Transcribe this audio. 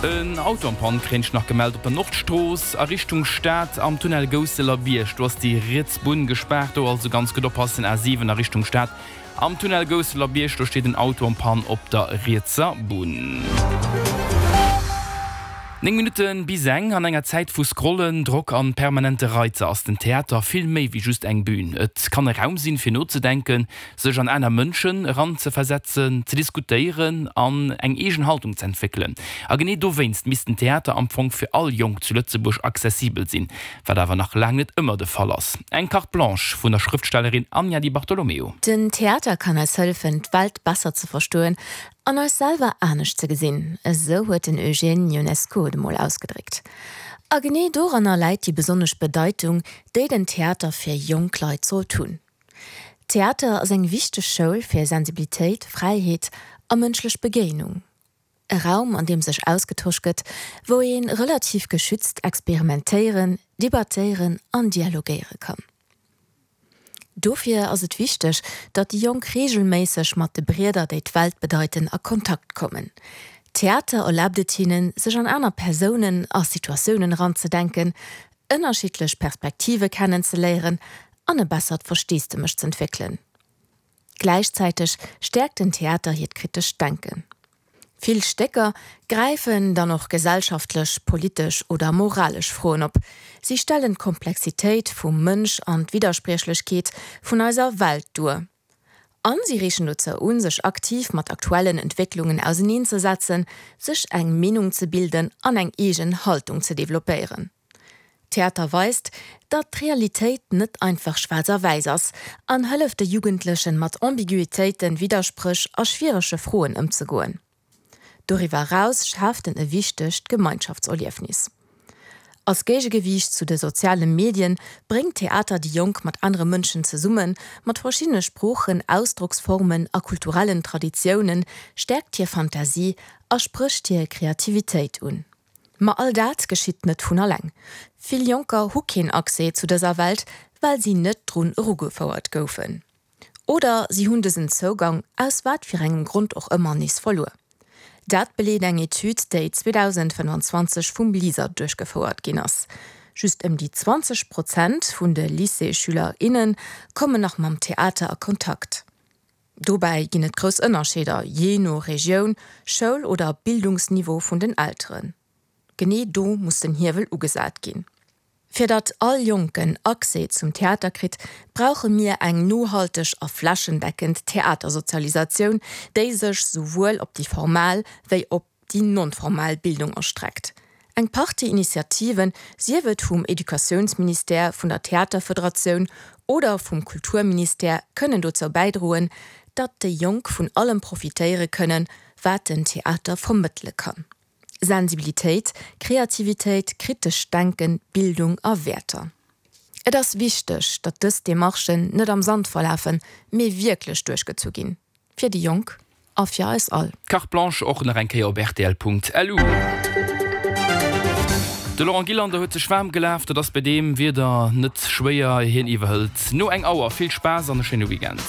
En Auto en Panne kréint ech nach gemellt op der Nordstrooss a Richtung Stad am Tunnel Gousseler Bierg. Do ass déi riets Bunn gespaart, do also ganz gutt oppassen. A7 a Richtung Stad am Tunnel Gousseler Bierg, do steet en Auto en Panne op der rietser Bunn. 9 Minutte bis eng. An enger Zäit vu Scrollen, Drock an permanente Reizer ass den Theater vill méi wéi just eng Bün. Et kann e Raum sinn, fir nozedenken, sech an aner Mënschen eranzeversetzen, ze diskutéieren an eng eegen Haltung ze entwéckelen. A genee dowéinst misst den Theater am Fong fir all Jonk zu Lëtzebuerg accessibel sinn, wat awer nach laang net ëmmer de Fall ass. Eng Carte Blanche vun der Schrëftstellerin Anja Di Bartolomeo. Den Theater kann eis hëllefen, d'Welt besser ze verstoen an eis selwer anescht ze gesinn, esou huet den Eugène Ionesco et emol ausgedréckt. A genee doranner läit déi besonnesch Bedeitung, déi den Theater fir jonk Leit sollt hunn. Theater ass eng wichteg Schoul fir Sensibilitéit, Fräiheet a mënschlech Begéinung. E Raum, an deem sech ausgetosch gëtt, wou ee relativ geschützt experimentéieren, debattéieren an dialogéiere kann. Dofir ass et wichteg, datt déi Jonk reegelméisseg mat de Brieder, déi d'Welt bedeiten, a Kontakt kommen. Theater erlaabt et hinnen, sech an aner Persounen a Situatiounen eranzedenken, ënnerschiddlech Perspektive kennenzeléieren an e bessert Versteesdemech z'entwéckelen. Gläichzäiteg stäerkt den Theater hiert kritescht Denken. Vill Stécker gräifen dann och gesellschaftlech, politesch oder moralesch Froen op. Si stellen d'Komplexitéit vum Mënsch an d'Widderspriechlechkeet vun eiser Welt duer. An si reegen dozou un, sech aktiv mat aktuellen Entwécklungen auseneenzesetzen, sech eng Meenung ze bilden an eng eegen Haltung ze developpéieren. Theater weist, datt d'Realitéit net einfach schwaarz a wäiss ass an hëlleft de Jugendlechen, mat Ambiguitéiten, Widderspréch a schwierege Froen ëmzegoen. Doriwwer eraus schaaft en e wichtegt Gemeinschaftserliefnis. Als Géigegewiicht zu de soziale Medien bréngt Theater déi Jonk mat anere Mënschen zesummen, mat verschiddene Sproochen, Ausdrocksformen a kulturellen Traditiounen, stäerkt hir Fantasie a sprécht hir Kreativitéit un. Ma all dat geschitt net vun alleng. Vill Jonker hu keen Accès zu dëser Welt, well si net drun erugefouert goufen. Oder si hunn dësen Zougang, aus wat fir engem Grond och ëmmer, nees verluer. Dat beleet eng Etüd, déi 2025 vum LISER duerchgefouert ginn ass. Just ëm déi 20 Prozent vun de Lycéesschüler, inne kommen nach mam Theater a Kontakt. Dobäi ginn et grouss Ënnerscheeder, jee no Regioun, Schoul oder Bildungsniveau vun den Elteren. Genee do muss den Hiewel ugesat ginn. Fir datt all Jonken Accès zum Theater kritt, brauche mir eng nohalteg a flächendeckend Theatersozialisatioun, déi sech souwuel op déi formal wéi op déi non-formal Bildung erstreckt. Eng Partie Initiativen, sief et vum Educatiounsministère, vun der Theaterfederatioun oder vum Kulturministère, kënnen dozou bäidroen, datt déi Jonk vun allem profitéiere kënnen, wat den Theater vermëttele kann, Sensibilitéit, Kreativitéit, kritescht Denken, Bildung a Wäerter. Et ass wichteg, datt dës Demarchen net am Sand verlafen, mee wierklech duerchgezu ginn. Fir déi Jonk a fir eis all. Carte Blanche och nach eng Kéier op rtl.lu. De Laurent Gillander huet sech waarm gelaf, dat ass bei deem Wieder net schwéier. Hien iwwerhëlt no eng Auer. Vill Spaass an e schéine Weekend.